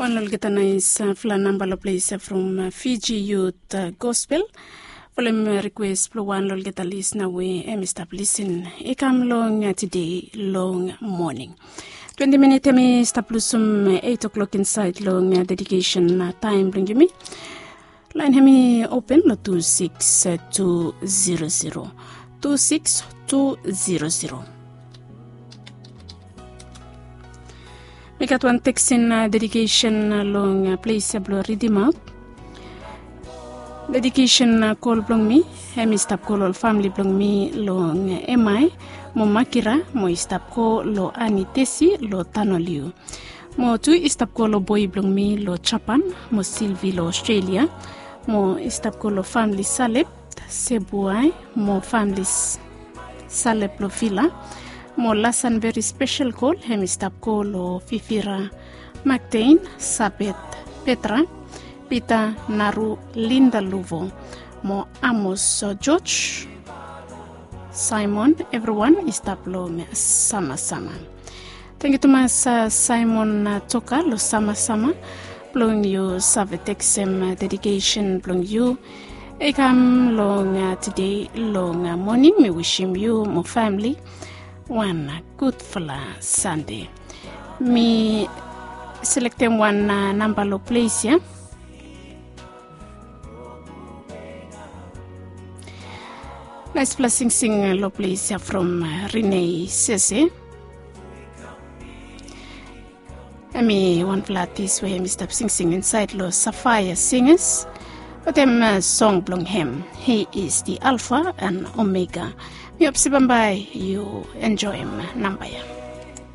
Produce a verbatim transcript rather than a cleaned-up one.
Wan long olgeta nais fala namba long ples from Fiji Youth Gospel. Folem rikwes blong wan long olgeta lisna we em i stap lisin i kam long tide long moning. Twenti minit em i stap lusum eit o'klok insaed long dedikesen taem blong yumi. Laen hem i open long tu sikis tu zero zero, tu sikis tu zero zero. Mi gat wan teksin dedikesen long ples ya blong ridimaot. Dedikesen kol blong mi em i stap kol ol famili blong mi long Emai mo Makira mo i stap kol long Ani Tesi long Tanoliu. Mo tu i stap kol long boi blong mi long Japan mo Silvi long Australia. Mo i stap kol long famili Salep, Sebuai mo famili Salep long Vila. Mo lasan veri spesel kol em i stap kol long Fifira Maktein, Sabet Petra, Pita Naru, Linda Luvo mo Amos George, Simon, evriwan i stap long samasama. Tangkiu tumas Simon Toka long samasama blong yu save teksem dedikesen blong yu i kam long tide long moning. Mi wisim yu mo famili wan gudfala Sande. Mi selektem wan namba long ples ya. Naisfala singsing long ples ya from Rene Sese. Em i wanfala atis we em i stap singsing insaed long Safaya Singas. Wetem song blong hem, He is the Alpha and Omega. Mi hop se bambae yu enjoem namba ya.